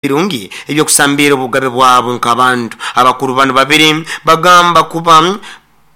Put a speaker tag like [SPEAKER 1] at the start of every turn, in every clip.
[SPEAKER 1] Birungi eby'okusambiira obugabe bwabo nk'abantu. Abakuru banu babiri bagamba kuba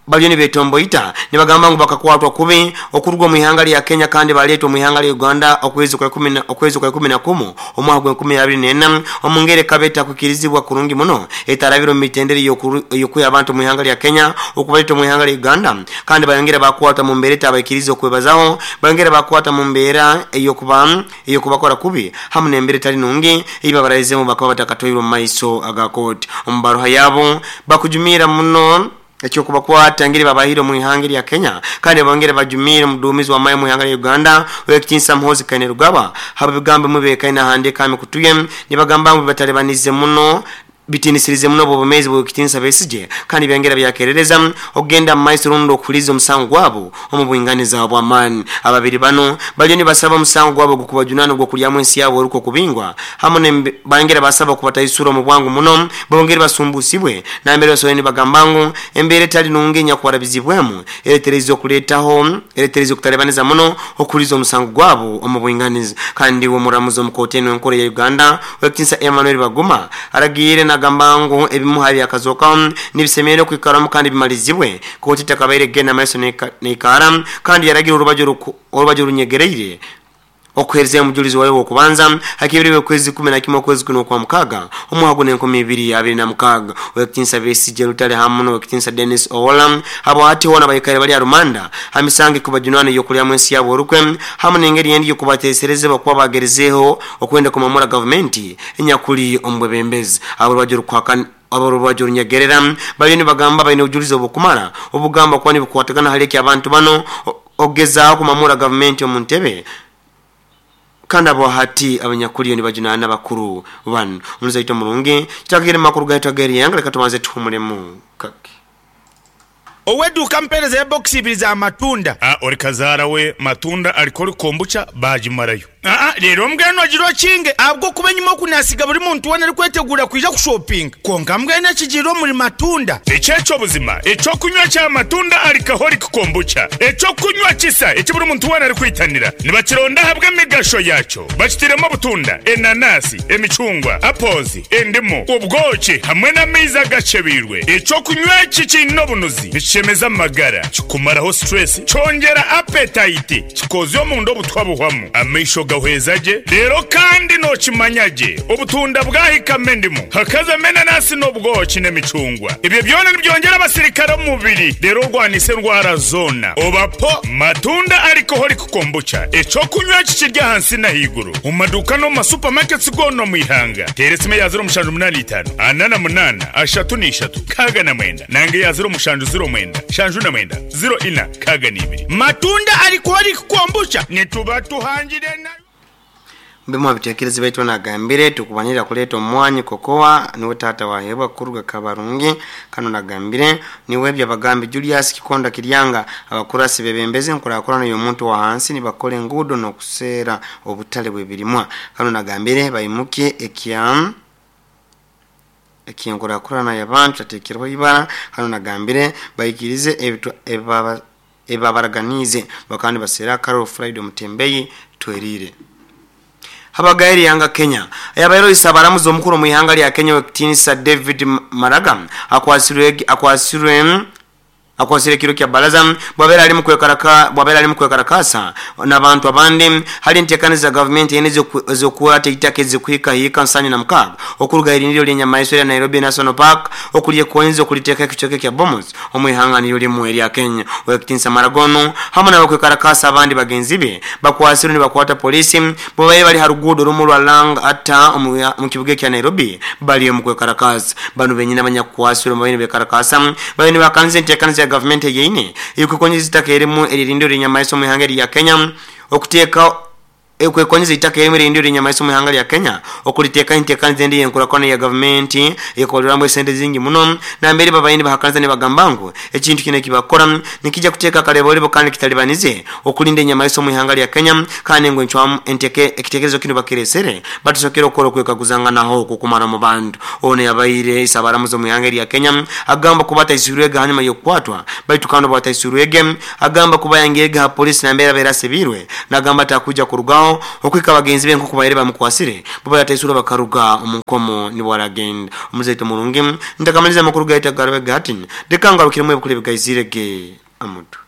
[SPEAKER 1] baliyo nibetomboita nibagamba ngu bakakwatwa kubi okuruga omu ihanga lya Kenya kandi baleetwa omu ihanga lya Uganda okwezi kwa okwezi kwa ikumi na kumu omwaka gw'enkumi abiri n'ena omu ngeri ekaba etakwikirizibwa kurungi muno etarabire omu mitendera ey'okwiha abantu omu ihanga lya Kenya okubaleeta omu ihanga lya Uganda kandi bayongera bakwatwa mu mbeera etabaikiriza okwebazaho bayongera bakwatwa mu mbeera ey'okuba ey'okubakora kubi hamu n'embeera etali nungi ei babaraizeemu bakaba batakatwairwe omu maiso aga kooti. Omu baruha yabo, bakujumiira muno eky'okubakwata engeri babahaire omu ihanga erya Kenya kandi bongera bajumiire omuduumizi w'amahe omu ihanga lya Uganda Ow'ekitinisa Muhoozi Kainerugaba habw'ebigambo ebimwe ebikaine ahandiika aha mikutu ye nibagamba ngu bibatalibanize muno Bitiinisirize muno obwomeezi bw'Owekitinisa Besigye kandi byongera byakerereza okugenda mu maiso rundi okuhuliiriza omusango gwabo omu bwinganiza obw'amaani. Ababiri banu baliyo nibasaba omusango gwabo ogw'okubajunaana ogw'okulyamu ensi yabo orukwe okubingwa hamu ne bangera basaba okubataisura omu bwangu muno bongere basumbusibwe nambere basoboire nibagamba ngu embeera etali nungi enyakubarabizibwemu eretereize okuletaho eretereize okutalibaniza muno okuhuliiriza omusango gwabo omu bwinganiza. Kandi iwe omuramuzi omu kooti enu enkuru eya Uganda Ow'ekitiinisa Emmanuel Baguma aragiire nagamba ngu ebimu ha byakazookaho nibisemeriire okwikaramu kandi bimalizibwe kooti etakabaire kugenda maiso neikaara kandi yaragira orubaju orunyegereire okuheerezayo omujulizi wayo ow'okubanza ha kibiro by'okwezi 11 okwezi kunu Okwamukaaga omwaka guno 2026. Ow'ekitiinisa Besigye Lutale hamu n'Ow'ekitiinisa Denis Owola abo hati hoona baikaire bali ha rumanda ha misango ekubajunaana ey'okulyamu ensi yabo orukwe hamu n'engeri endi y'okubateeserezebwa kuba bagerizeeho Okwenda kumamura gavumenti enyakuli omu bwebembezi. Aborubaju orunyegerera baliyo nibagamba baine obujulizi obukumara obugamba kuba nibukwatagana hali eki abantu bano okugezaaho kumamura gavumenti omu ntebe kandi abo hati abanyakuliyo nibajunaana bakuru banu. Omulizi waitu omurungi, kitwakagire mu makuru gaitu ag'eryanga leka tubanze tuhumulemu kake.
[SPEAKER 2] Ow'eduuka ampeerezeyo bokisi ibiri za matunda.
[SPEAKER 3] A Ori kazaara we matunda alcoholic kombucha baagimarayo.
[SPEAKER 2] Aa Reero mbwenu ogire okinge ahabw'okuba enyima oku naasiga buri muntu weena arikweteguura kwija kushopinga. Kwonka mbwenu ekigiire omuri matunda.
[SPEAKER 3] Eki eky'obuzima, eky'okunywa kya matunda alcoholic kombucha, eky'okunywa kisa eki buri muntu weena arikwitanira. Nibakironda ahabw'emigasho yaakyo. Bakitairemu obutunda, enanasi, emicungwa, apples, endimu, obwoki hamwe n'amaizi agacebeirwe. Eky'okunywa eki kiine obunuzi, nikishemeza amagara, kikumaraho stress, kyongyera appetite, kikoozya omunda obutwa buhwamu, amaisho gahweza gye, reero kandi nookimanya gye obutunda bwahikamu endimu, hakazamu enanasi n'obwoki n'emicungwa. Ebyo byona nibyongyera abasirikare omu mubiri reero orwanise endwara zoona. Oba po matunda alcoholic kombucha, eky'okunywa eki kiri ahansi n'ahaiguru. Omu maduuka n'omu ma supermarkets goona omu ihanga. Teera esimu eya 0785 48 33 69 nanga eya 0709 79 04 62.
[SPEAKER 2] Matunda alcoholic kombucha.
[SPEAKER 3] Nituba tuhangire nayo.
[SPEAKER 1] Bimu ha bitekerezo baitu nagambire tukubanira kuleta omwanyi kokoa niwe taata wahebwa kuruga Kabarungi kanu nagambire niwe Byabagambi Julius Kikonda Kiryanga abakurasi bebembeze enkurakurana yomuntu wahansi nibakora enguudo nokuseera obutale bwebirimwa kanu nagambire baimukye ekya ekyenkurakurana yabantu tatekerweho ibara kanu nagambire baikirize ebibabaraganiize bakaba nibaseera Carol Friday Omutembeyi Tweriire. Habagayo erihanga Kenya. Ayabaire oisa abaramuzi omukuru omu ihanga lya Kenya Owekitinisa David Maraga akwasirwe akwasirwe akwasirwe ekiro kya baraza bwabaire ali bwabaire ali mukwekarakaasa n'abantu abandi hali entekaniza za gavumenti ena ez'okukwata eitaka ezikuhika hiika 76 okuruga aha irindiro ly'enyamaiswa erya Nairobi National Park okulyekonza okuliteekaho ekicweka ekya Bomas omu ihanga niryo rimwe erya Kenya. Owekitinisa Maraga onu hamu n'abakwekarakaasa abandi bagenzi be bakwasirwe nibakwata poliisi bwebabaire bali ha ruguudo rumu orwa Lang'ata omu kibuga ekya Nairobi bali omu kwekarakaasa. Banu benyini abanyakukwasirwe babaire nibekarakaasa babaire nibahakanisa enteekaniza ya gavumenti eyeine ey'okwekonyeza eitaka erimu ery'erindiro ly'enyamaiswa omu ihanga erya Kenya okuteeka Ekwekonyeza eitaka erimu erindi ery'enyamaiswa omu ihanga lya Kenya okuliteekaho enteekaniza endi ey'enkurakurana eya gavumenti eyekolerwamu esente zingi muno nambere babaire nibahakaniza nibagamba ngu ekintu kinu ekibakukora nikija kuteeka akareborebo kandi kitalibanize okulinda enyamaiswa omu ihanga lya Kenya kandi ngu encwamu enteke ekitekerezo kinu bakiresere batasokere okukora okwekaguzanganaho okwo kumara omu bantu. Ono yabaire isabaramuzi omu ihanga erya Kenya agamba kuba ataisirwege hanyuma y'okukwatwa baitu kandi obu ataisirwege agamba kuba yangirege ha polisi nambere abaire asibiirwe. Nagamba ati akwija kurugaho. kulengaho okwika bagenzi be nkoku baire bamukwasire bo bataisura bakaruga omu nkomo nibwo aragenda. Omuzaito murungi ntakamaliza amakuru gaita garabe gati dekangarukiremu ebikuru ebigaizire ge amutu.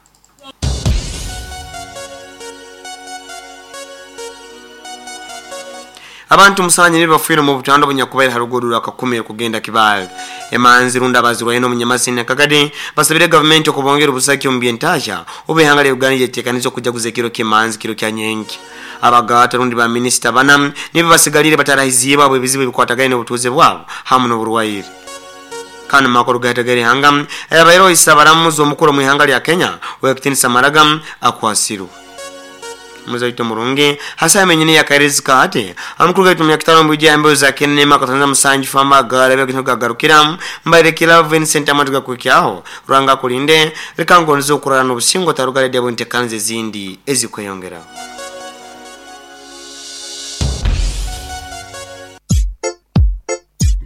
[SPEAKER 1] Abantu musanju nibo bafiire omu butanda obunyakubaire ha ruguudo rwa Kakumiro kugenda Kibaale. Emanzi rundi abazirwaine omunyamasini Kagadi basabire gavumenti okubongera obusaki omu by'entahya obu ihanga lya Uganda lyetekaniza okujaguza ekiro ky'emanzi kiro kya nyenkya. Abagaata rundi ba minisita bana nibo basigalire batarahiziibwe habw'ebizibu ebikwatagaine n'obutuuze bwabo hamu n'oburwaire. Kandi mu makuru gaitu ag'eihanga, ayabaireho Isabaramuzi omukuru omu ihanga lya Kenya, Owekitinisa Maraga akwasirwe. Muzaito murungi, ha saaha yenyini ey'akairirizi ka hati, amakuru gaitu omunyakitara omu bwija embeho za kenda n'emu akatonza musanju famba agarabe gaitu gagarukira mbaire Kilove Vincent amatu gakuhikyaho. Ruhanga akulinde, leka ngonze okurara n'obusinge otaruga radio habw'enteekaniza ezindi ezikweyongeraho.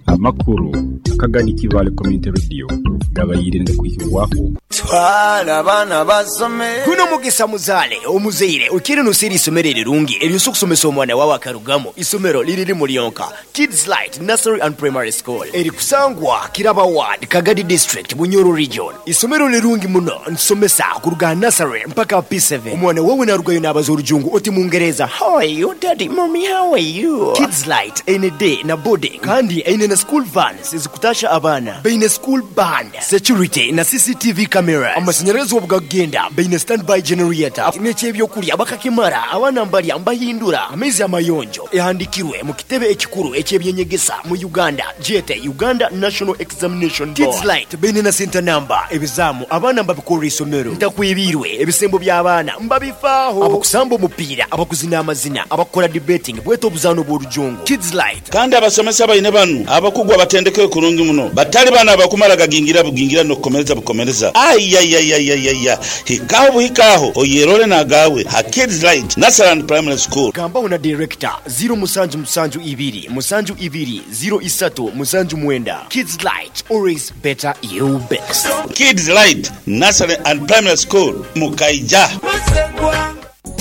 [SPEAKER 4] Amakuru akagadi Kibaale Community Radio gabaire nigakwihibwaho.
[SPEAKER 5] Twala abaana basome.
[SPEAKER 6] Guno mugisa muzaale omuzaire oikaire noseera eisomero erirungi eryosobola okusomesa omwana wawe akarugamu. Isomero liri limu lyonka, Kids Light Nursery and Primary School eri kusangwa Kiraba Ward, Kagadi District, Bunyoro Region. Isomero lirungi muno nitusomesa kuruga aha nursery mpaka aha P7. Omwana wawe narugayo nabaza orujungu oti mungereza, How are you daddy, mommy how are you? Kids Light eine day na boarding kandi eine na school vans ezikutasha abaana. Baine school band, security na CCTV cameras. Amashanyarazi obugakugenda baine standby generator n'eky'ebyokulya bakakimara abaana mbalya mbahindura amaizi amayonjo. Ehandikirwe mu kitebe ekikuru eky'ebyenyegesa mu Uganda gyete Uganda National Examination Board. Kids Light baine na center number, ebizaamu abaana mbabikorera isomero. Ntakwibiirwe, ebisembo by'abaana mbabifaaho. Abakusamba omupiira, abakuzina amazina, abakukora debating bwete obuzaano obw'orujungu. Kids Light.
[SPEAKER 7] Kandi abasomesa baine banu abakugu abatendekeirwe kurungi muno, batali bano abakumara gagingira bugingira n'okukomereza bukomereza. Aiaiaiaiaia! Hikaho buhika agho oyerole n'agaawe ha Kids Light Nursery and Primary School.
[SPEAKER 6] Gambaho na Director, ziro musanju musanju ibiri musanju ibiri ziro isatu musanju mwenda. Kids Light, always better you best.
[SPEAKER 7] Kids Light Nursery and Primary School, Mukaija.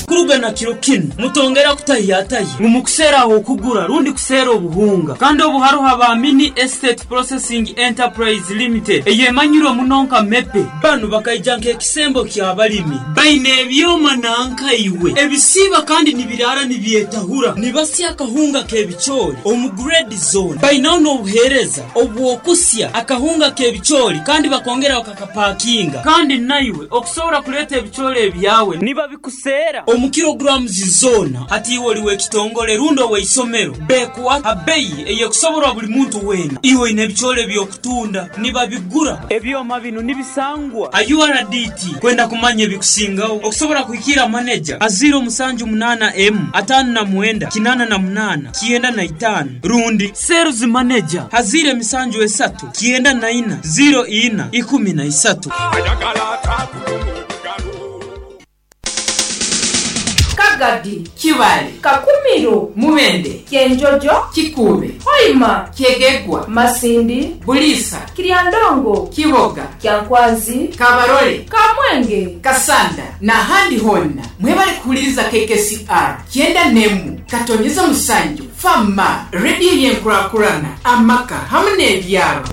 [SPEAKER 8] Kuruga na kiro kinu, mutongera kutahiyatahya ngu mukuseera ah'okugura rundi kuseera obuhunga. Kandi obu haroho aba Mini Estate Processing Enterprise Limited eyemanyirwe muno nka MEPE. Banu bakaija nk'ekisembo ky'abalimi. Baine ebyoma nanka iwe ebisiiba kandi nibiraara nibyetahura. Nibasya akahunga k'ebicoori omu grade zoona. Bainaho n'obuheereza obw'okusya akahunga k'ebicoori kandi bakongera bakakapakinga. Kandi naiwe okusobora kuleeta ebicoori ebyawe nibabikuseera omu kilograms zoona. Hati iwe oli w'ekitongole rundi ow'eisomero, bekuha ha beyi ey'ekusoborwa buli muntu weena. Iwe oine ebicoori eby'okutunda, nibabigura. Ebyoma binu nibisangwa ha URDT. Kwenda kumanya ebikusingaho, okusobora kuhikiira maneja ha ziiro musanju munaana emu, ataano na mwenda, kinaana na munaana, kyenda na itaano rundi sales manager ha ziiro emisanju esatu, kyenda na ina, ziiro ina, ikumi na isatu.
[SPEAKER 9] Kagadi,
[SPEAKER 10] Kibaale,
[SPEAKER 9] Kakumiro,
[SPEAKER 10] Mubende,
[SPEAKER 9] Kyenjojo,
[SPEAKER 10] Kikuube,
[SPEAKER 9] Hoima,
[SPEAKER 10] Kyegegwa,
[SPEAKER 9] Masindi,
[SPEAKER 10] Buliisa,
[SPEAKER 9] Kiryandongo,
[SPEAKER 10] Kiboga,
[SPEAKER 9] Kyankwanzi,
[SPEAKER 10] Kabarole,
[SPEAKER 9] Kamwenge,
[SPEAKER 10] Kasanda n'ahandi hoona. Mwebale kuhuliriza KKCR kyenda n'emu katonyeza musanju fama rediyo y'enkurakurana amaka hamu n'ebyaro.